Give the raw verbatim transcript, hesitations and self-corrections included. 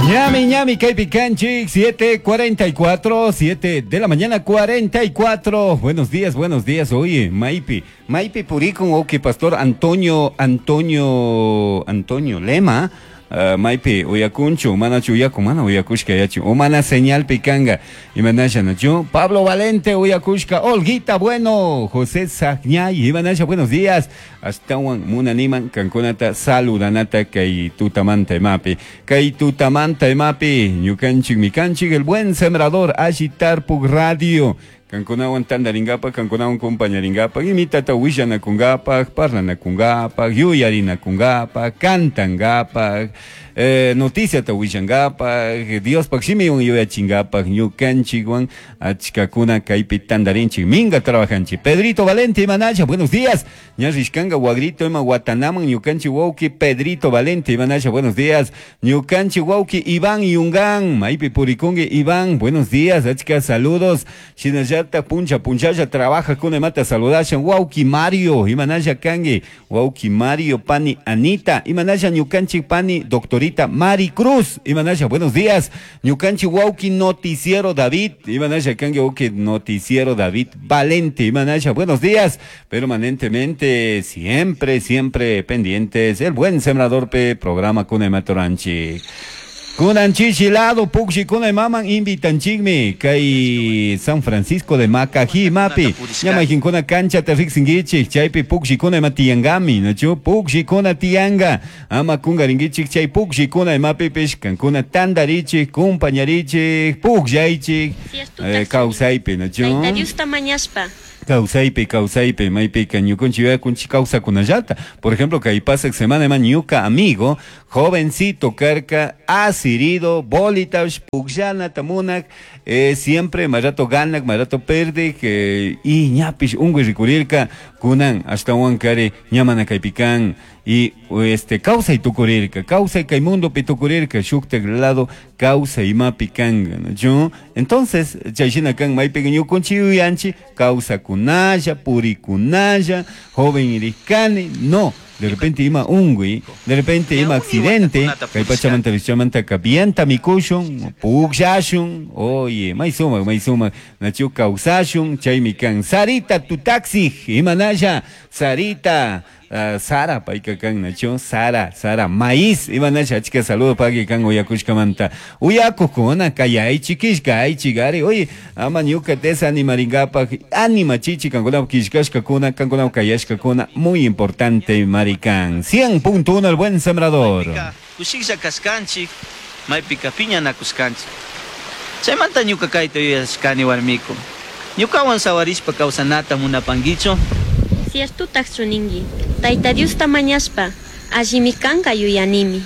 Ñami, ñami, kaypi kanchik, siete cuarenta y cuatro, siete de la mañana cuarenta y cuatro. Buenos días, buenos días. Oye, maypi, maypi purikun, ok, Pastor Antonio, Antonio, Antonio Lema. Uh, maypi uyakunchu, manachu uyakun, mana uyakushka yachu, o mana señalpi kanga, imanasha nachu, Pablo Valente uyakushka, Olguita Bueno, José Sagñay, imanasha, buenos días, ashtawan munaniman kankunata saludanata kay tutamanta imapi, kay tutamanta imapi, ñukanchik mikanchik, El Buen Sembrador, Alli Tarpuk Radio, kankunawan tandaringapaj, kankunawan compañaringapaj, imitata willanakungapak, parlanakungapaj, yuyarinakungapak, kantangapak, eh, noticiata willangapak, Diospaj shimiwan yuyachingapak, ñukanchikwan achkakuna kaypi tandarinchik, minga trabajanchik. Pedrito Valente, imanasha, buenos días. Ña rishkanga wagrito ima watanaman ñukanchik wawki Pedrito Valente, imanasha, buenos días. Ñukanchik wawki Iván Yungan, maypi purikungi Iván, buenos días, achka saludos. Shinallata puncha punchalla trabaja con imata saludashan, wawki Mario, imanasha kangi, wawki Mario, pani Anita, imanasha ñukanchik pani doctorita Mari Cruz, imanasha, buenos días. Ñukanchik wawki Noticiero David, imanasha kangi wawki Noticiero David Valente, imanasha, buenos días. Permanentemente, siempre, siempre pendientes, El Buen Sembrador P, programa con Ematoranchi. Kunan chishi lado pukllakuna imaman invitanchikmi kay San Francisco de Macají mapi ña mayqinkuna canchata riqsinkichik chaypi pukllakuna ima tiyangami, nachu? Pukllakuna tiyanga, ama kungarinkichik. Chay pukllakuna imapipish kankuna tantarichik, kumpañarichik, pukllaychik eh, kawsaypi, nachu? Tayta Diosta mañashpa. Kawsaypi, kawsaypi, maypika ñukanchik yuyakunchik kawsakunallata. Por ejemplo, kay pasaq semana ima ñuka amigo, jovencito karka, asirido, bolitash pukllanata munak, eh, siempre may rato ganak, may rato perdik, eh, y ñapish unkuy rikurirka, kunan ashtawan kari ña mana kaypikan y este kawsay tukurirka, kawsay kay mundopi tukurirka, shuktak lado kawsay imapi kanka, ¿no? Entonces, chayshina kan maypika ñukanchik yuyanchik kawsakunalla, purikunalla, joven irikani, no, de repente ima unkuy, de repente ima accidente, kay pachamanta richamanta vienta mikushun, pukllashun, oye, may sumak, may sumak, nachu kawsashun, chaymi kan. Sarita tu taxi, imanalla, Sarita, uh, Sara payka kan, nachu, Sara, Sara, maíz, imanasha, achka saludo paki kan uyakushkamanta. Uyakukuna, kayaychik, killkaychik, ari, oye, ama ñuka desanimaringapak, animachichik kankunapak killkashkakuna, kankunapak kayashkakuna, muy importante marikan. cien punto uno, El Buen Sembrador. Kushiklla kashkanchik, maypika piñanakushkanchik. Chaymanta ñuka kayta yuyashkani, warmiku. Ñukawan sawarishpa kawsanata munapankichu? Ciertotaqchu ninki? Tayta Diosta mañashpa, allimi kanka yuyanimi.